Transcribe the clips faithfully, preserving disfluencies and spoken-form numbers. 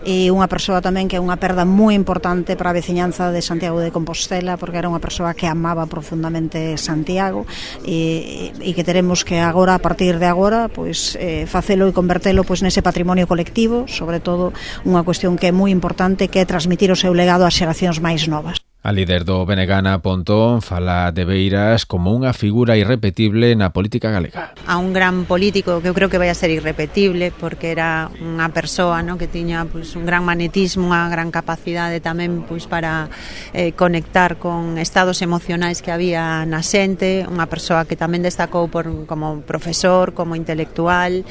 e unha persoa tamén que é unha perda moi importante para a veciñanza de Santiago de Compostela, porque era unha persoa que amaba profundamente Santiago e, e que teremos que agora, a partir de agora, pois, eh, facelo e convertelo pois, nese patrimonio colectivo, sobre todo unha cuestión que é moi importante, que é transmitir o seu legado ás xeracións máis novas. A líder do Benegana Pontón fala de Beiras como unha figura irrepetible na política galega. A un gran político que eu creo que vai a ser irrepetible, porque era unha persoa, ¿no?, que tiña pues, un gran magnetismo, unha gran capacidade tamén pues, para eh, conectar con estados emocionais que había na xente, unha persoa que tamén destacou por, como profesor, como intelectual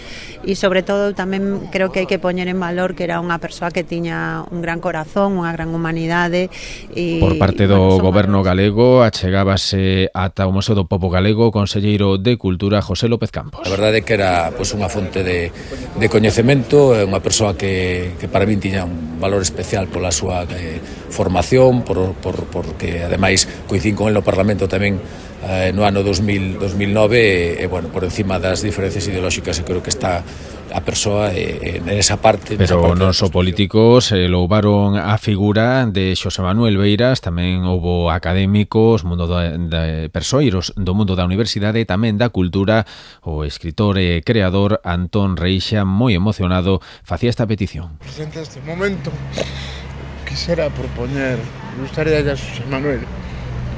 e sobre todo tamén creo que hai que poñer en valor que era unha persoa que tiña un gran corazón, unha gran humanidade e Por parte do bueno, goberno galego achegábase ata o Museo do Pobo Galego o conselleiro de Cultura José López Campos. A verdade é que era pois, unha fonte de, de coñecemento, unha persoa que, que para min tiña un valor especial pola súa eh, formación, por, por, porque ademais coincín con el no Parlamento tamén eh, no ano dos mil nove e, e bueno, por encima das diferencias ideolóxicas eu creo que está a persoa eh, en esa parte. Pero parte non só políticos eh, louvaron a figura de Xosé Manuel Beiras, tamén houbo académicos, mundo de, de persoeiros do mundo da universidade e tamén da cultura. O escritor e creador Antón Reixa, moi emocionado, facía esta petición. Presente este momento, quisera propoñer, gustaría a Xosé Manuel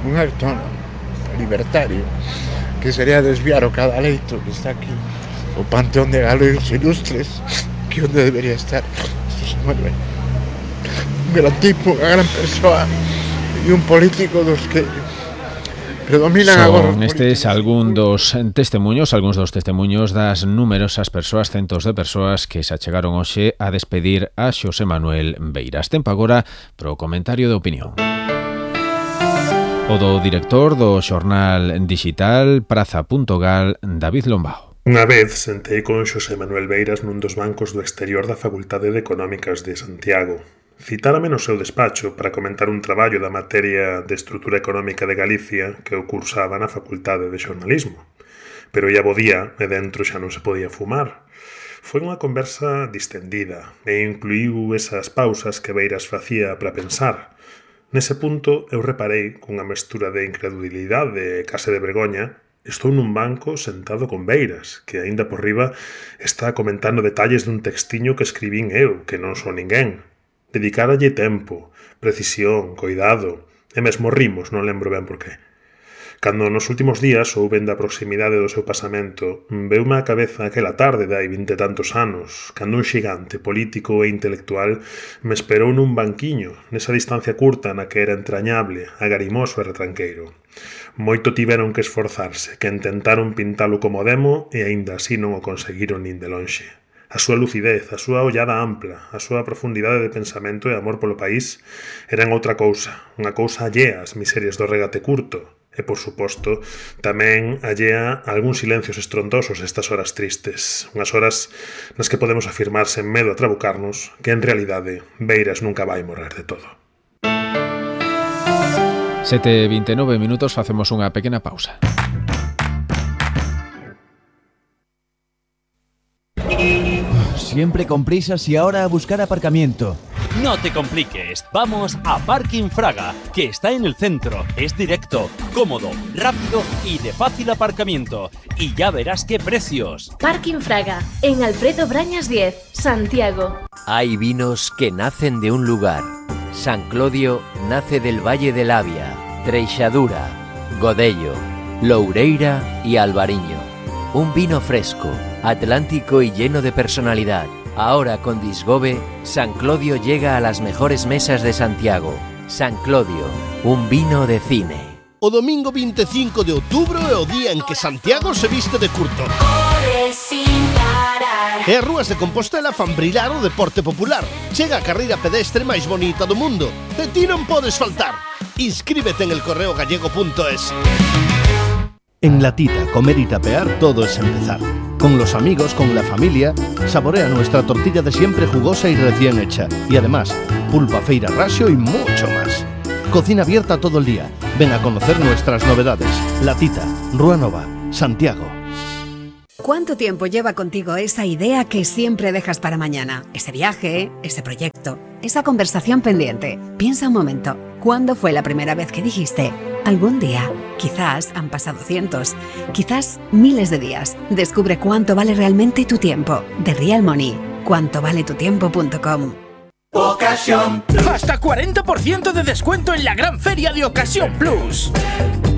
un acto libertario, que sería desviar o cadaleito que está aquí, o panteón de galegos ilustres, que onde debería estar Xosé Manuel. Un gran tipo, unha gran persoa e un político dos que predominan agora. Son estes algún dos testemunhos, algúns dos testemunhos das numerosas persoas, centos de persoas que se achegaron hoxe a despedir a Xosé Manuel Beiras. Tempo agora pro comentario de opinión. O do director do xornal digital Praza punto gal, David Lombao. Unha vez sentei con Xosé Manuel Beiras nun dos bancos do exterior da Facultade de Económicas de Santiago. Citárame no seu despacho para comentar un traballo da materia de estrutura económica de Galicia que eu cursaba na Facultade de Xornalismo. Pero ia bo día e dentro xa non se podía fumar. Foi unha conversa distendida e incluíu esas pausas que Beiras facía para pensar. Nese punto eu reparei cunha mestura de incredulidade e case de vergoña. Estou nun banco sentado con Beiras, que aínda por riba está comentando detalles dun textiño que escribín eu, que non son ninguén. Dedicáralle tempo, precisión, coidado, e mesmo rimos, non lembro ben por qué. Cando nos últimos días souben da proximidade do seu pasamento, veume á cabeza aquela tarde de hai vinte e tantos anos, cando un xigante político e intelectual me esperou nun banquiño, nesa distancia curta na que era entrañable, agarimoso e retranqueiro. Moito tiveron que esforzarse, que intentaron pintalo como demo e aínda así non o conseguiron nin de lonxe. A súa lucidez, a súa ollada ampla, a súa profundidade de pensamento e amor polo país eran outra cousa, unha cousa allea ás miserias do regate curto e, por suposto, tamén allea a algúns silencios estrondosos estas horas tristes, unhas horas nas que podemos afirmar sen medo a trabucarnos que, en realidade, Beiras nunca vai morrer de todo. sete e vinte e nove minutos, facemos unha pequena pausa. Siempre con prisas y ahora a buscar aparcamiento. No te compliques, vamos a Parking Fraga, que está en el centro, es directo, cómodo, rápido y de fácil aparcamiento. Y ya verás qué precios. Parking Fraga, en Alfredo Brañas diez, Santiago. Hay vinos que nacen de un lugar. San Clodio nace del Valle del Avia, Treixadura, Godello, Loureira y Albariño. Un vino fresco, atlántico y lleno de personalidad. Ahora con Disgobe, San Clodio llega a las mejores mesas de Santiago. San Clodio, un vino de cine. O domingo vinte e cinco de outubro é o día en que Santiago se viste de curto. E as rúas de Compostela fan brillar o deporte popular. Chega a carreira pedestre máis bonita do mundo. E ti non podes faltar. Inscríbete en el correo gallego punto es. En La Tita, comer y tapear, todo es empezar. Con los amigos, con la familia, saborea nuestra tortilla de siempre jugosa y recién hecha. Y además, pulpa, feira, rasio y mucho más. Cocina abierta todo el día. Ven a conocer nuestras novedades. La Tita, Rúa Nova, Santiago. ¿Cuánto tiempo lleva contigo esa idea que siempre dejas para mañana? Ese viaje, ese proyecto, esa conversación pendiente. Piensa un momento, ¿cuándo fue la primera vez que dijiste algún día? Quizás han pasado cientos, quizás miles de días. Descubre cuánto vale realmente tu tiempo. The Real Money. cuánto vale tu tiempo punto com. Ocasión Plus. Hasta cuarenta por ciento de descuento en la gran feria de Ocasión Plus.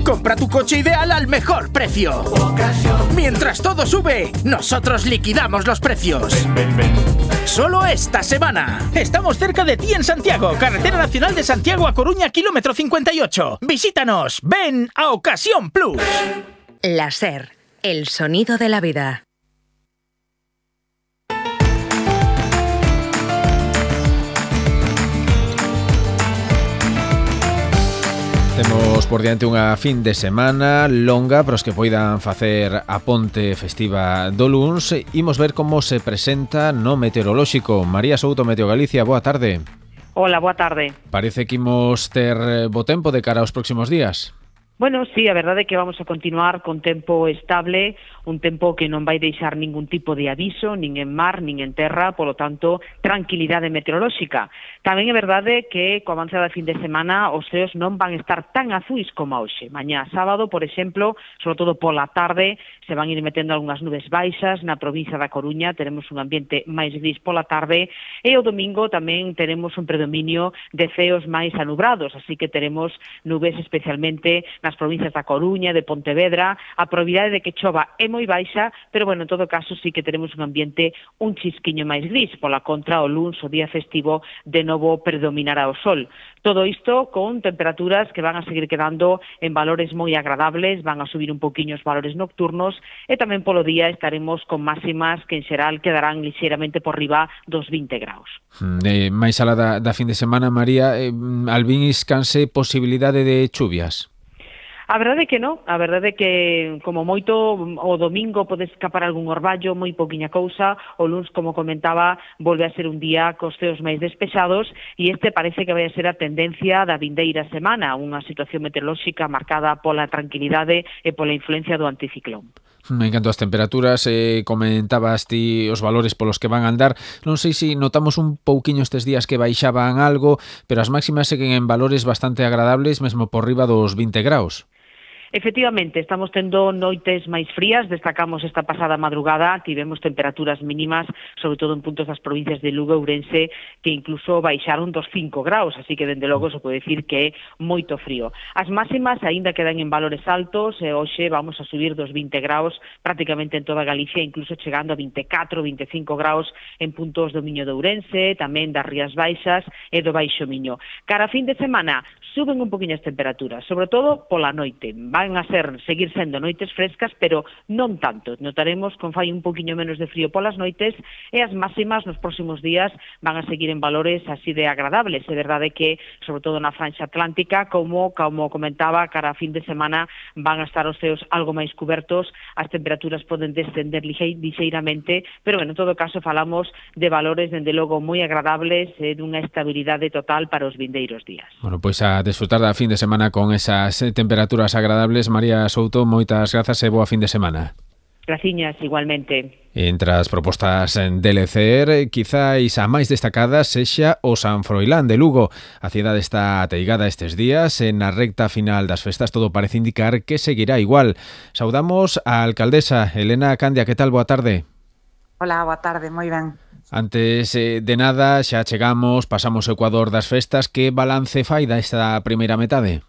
Compra tu coche ideal al mejor precio. Ocasión. Mientras todo sube, nosotros liquidamos los precios. Ven, ven, ven. Solo esta semana. Estamos cerca de ti en Santiago, Carretera Nacional de Santiago a Coruña, kilómetro cincuenta y ocho. Visítanos. Ven a Ocasión Plus. La SER, el sonido de la vida. Temos por diante unha fin de semana longa para os que poidan facer a ponte festiva do luns. Imos ver como se presenta no meteorolóxico. María Souto, Meteo Galicia, boa tarde. Hola, boa tarde. Parece que imos ter bo tempo de cara aos próximos días. Bueno, sí, a verdade é que vamos a continuar con tempo estable, un tempo que non vai deixar ningún tipo de aviso, nin en mar, nin en terra, polo tanto, tranquilidade meteorolóxica. Tamén é verdade que, co avance da fin de semana, os ceos non van estar tan azuis como hoxe. Mañá sábado, por exemplo, sobre todo pola tarde, se van ir metendo algunhas nubes baixas na provincia da Coruña, teremos un ambiente máis gris pola tarde, e o domingo tamén teremos un predominio de ceos máis anubrados, así que teremos nubes especialmente nas provincias da Coruña, de Pontevedra. A probabilidade de que chova é moi baixa, pero, bueno, en todo caso, sí que teremos un ambiente un chisquiño máis gris. Pola contra, o luns, o día festivo, de novo predominará o sol. Todo isto con temperaturas que van a seguir quedando en valores moi agradables, van a subir un poquinho os valores nocturnos, e tamén polo día estaremos con máximas que, en xeral, quedarán lixeiramente por riba dos vinte graus. Eh, máis alá da, da fin de semana, María, eh, albín iscanse posibilidade de chuvias? A verdade é que non, a verdade é que como moito o domingo pode escapar algún orballo, moi poquinha cousa, o luns, como comentaba, volve a ser un día cos ceos máis despexados e este parece que vai a ser a tendencia da vindeira semana, unha situación meteorolóxica marcada pola tranquilidade e pola influencia do anticiclón. En canto ás temperaturas, eh, comentabas ti os valores polos que van a andar. Non sei se notamos un pouquiño estes días que baixaban algo, pero as máximas seguen en valores bastante agradables, mesmo por riba dos vinte graus. Efectivamente, estamos tendo noites máis frías, destacamos esta pasada madrugada, tivemos temperaturas mínimas, sobre todo en puntos das provincias de Lugo e Ourense, que incluso baixaron dos cinco graus, así que, dende logo, se pode decir que é moito frío. As máximas aínda quedan en valores altos, e hoxe vamos a subir dos vinte graus prácticamente en toda Galicia, incluso chegando a vinte e catro, vinte e cinco graus en puntos do Miño de Ourense, tamén das Rías Baixas e do Baixo Miño. Cara a fin de semana, suben un poquinho as temperaturas, sobre todo pola noite. Van a ser, seguir sendo noites frescas, pero non tanto. Notaremos con fai un poquinho menos de frío polas noites e as máximas nos próximos días van a seguir en valores así de agradables. É verdade que, sobre todo na franxa atlántica, como, como comentaba, cara a fin de semana van a estar os ceos algo máis cubertos, as temperaturas poden descender lixeiramente, pero, bueno, en todo caso, falamos de valores, dende logo, moi agradables e dunha estabilidade total para os vindeiros días. Bueno, pois a desfrutar da fin de semana con esas temperaturas agradables. María Souto, moitas grazas e boa fin de semana. Graciñas, igualmente. Entre as propostas de Lecer, quizáis a máis destacada sexa o San Froilán de Lugo. A cidade está ateigada estes días e na recta final das festas todo parece indicar que seguirá igual. Saudamos a alcaldesa Elena Candia, que tal? Boa tarde. Hola, boa tarde, moi ben. Antes eh, de nada, xa chegamos, pasamos o Ecuador das festas. Que balance fai da esta primeira metade?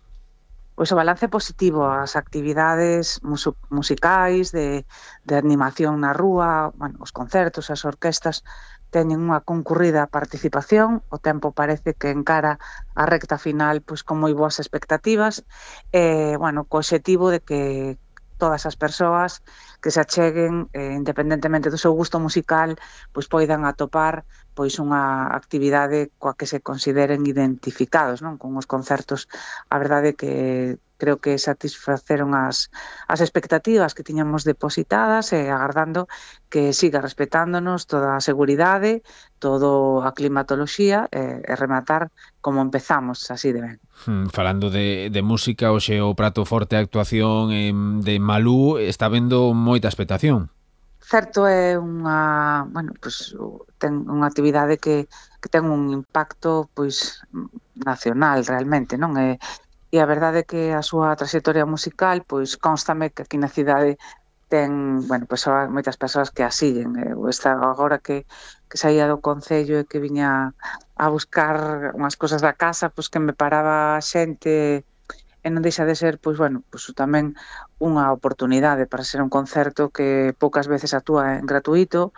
Pois o balance positivo, as actividades mus- musicais, de, de animación na rúa, bueno, os concertos, as orquestas, teñen unha concurrida participación, o tempo parece que encara a recta final pois con moi boas expectativas, e, bueno, co obxectivo de que todas as persoas que se acheguen, eh, independentemente do seu gusto musical, pois poidan atopar pois unha actividade coa que se consideren identificados, non? Con os concertos. A verdade que creo que satisfaceron as, as expectativas que tiñamos depositadas e agardando que siga respetándonos toda a seguridade, todo a climatoloxía e, e rematar como empezamos, así de ben. Hmm, falando de, de música, hoxe o prato forte a actuación eh, de Malú está vendo moita expectación. certo é unha, bueno, pois ten unha actividade que, que ten un impacto pois nacional realmente, non? E, e a verdade é que a súa trayectoria musical pois constame que aquí na cidade ten, bueno, pois moitas persoas que a siguen. Eu está agora que que saía do concello e que viña a buscar unhas cousas da casa, pois que me paraba xente e non deixa de ser, pois, bueno, pois tamén unha oportunidade para ser un concerto que poucas veces actúa en gratuito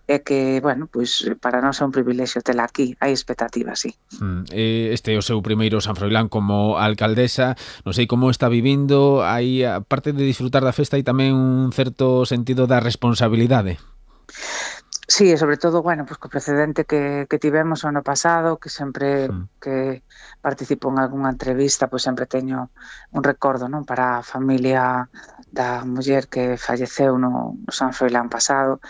e que, bueno, pois para nós é un privilexio tela aquí, hai expectativas, sí. Mm, este é o seu primeiro San Froilán como alcaldesa, non sei como está vivindo, hai, aparte de disfrutar da festa, hai tamén un certo sentido da responsabilidade. Sí, e sobre todo, bueno, pues co precedente que, que tivemos o ano pasado, que sempre mm. que participo en algunha entrevista, pois sempre teño un recordo, non, para a familia da muller que falleceu no, no San Froilán pasado,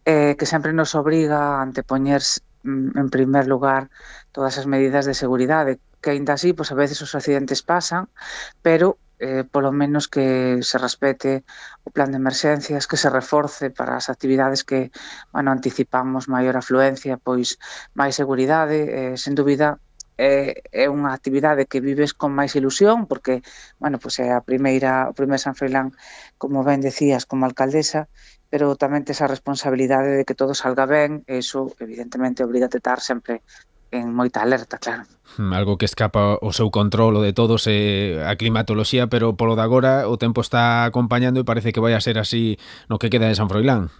eh, que sempre nos obriga a antepoñer en primer lugar todas as medidas de seguridade, que aínda así, pois a veces os accidentes pasan, pero eh, polo menos que se respete o plan de emerxencias, que se reforce para as actividades que, bueno, anticipamos maior afluencia, pois máis seguridade, eh, sen dúbida é, é unha actividade que vives con máis ilusión, porque, bueno, pois é a primeira, o primeiro San Froilán, como ben decías, como alcaldesa, pero tamén tes a responsabilidade de que todo salga ben, e iso, evidentemente, obriga a estar sempre en moita alerta, claro. Algo que escapa o seu control, o de todos, é a climatoloxía, pero polo de agora o tempo está acompañando e parece que vai a ser así no que queda de San Froilán.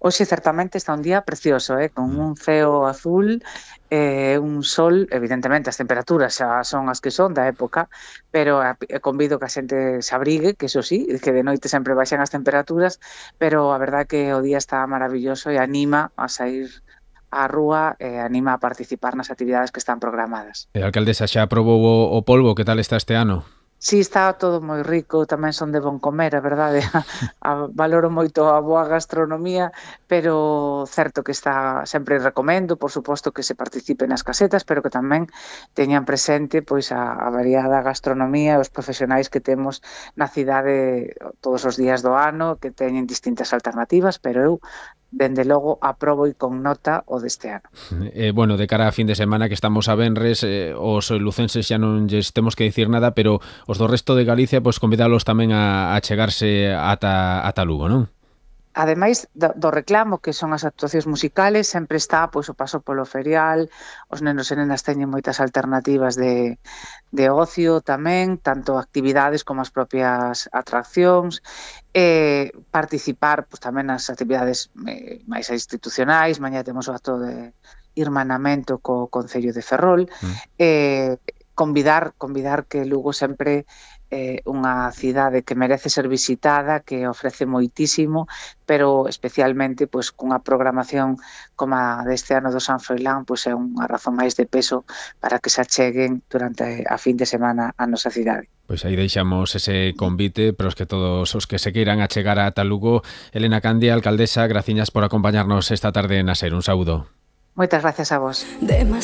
Hoxe certamente está un día precioso, eh, con un ceo azul, eh, un sol, evidentemente as temperaturas xa son as que son da época, pero convido que a xente se abrigue, que eso sí, que de noite sempre baixan as temperaturas, pero a verdade que o día está maravilloso e anima a sair a rúa e anima a participar nas actividades que están programadas. E a alcaldesa xa aprobou o, o polvo, que tal está este ano? Sí, está todo moi rico, tamén son de bon comer, a verdade, a, a, valoro moito a boa gastronomía, pero certo que está, sempre recomendo, por suposto que se participe nas casetas, pero que tamén teñan presente pois a, a variada gastronomía, os profesionais que temos na cidade todos os días do ano, que teñen distintas alternativas, pero eu dende logo aprobo e con nota o deste ano. Eh, bueno, de cara a fin de semana que estamos a venres, eh, os lucenses xa non lles temos que dicir nada, pero os do resto de Galicia, pois convidalos tamén a, a chegarse ata, ata Lugo, non? Ademais do, do reclamo, que son as actuacións musicales, sempre está pois o paso polo ferial, os nenos e nenas teñen moitas alternativas de, de ocio tamén, tanto actividades como as propias atraccións, e participar pois, tamén nas actividades eh, máis institucionais. Mañá temos o acto de irmanamento co Concello de Ferrol, mm. eh, convidar, convidar que Lugo sempre é eh, unha cidade que merece ser visitada, que ofrece moitísimo, pero especialmente pois cunha programación como a deste ano do San Froilán, pois é unha razón máis de peso para que se acheguen durante a fin de semana a nosa cidade. Pois aí deixamos ese convite para os que todos os que se queiran achegar a Lugo. Elena Candia, alcaldesa, graciñas por acompañarnos esta tarde na SER. Un saúdo. Moitas gracias a vos.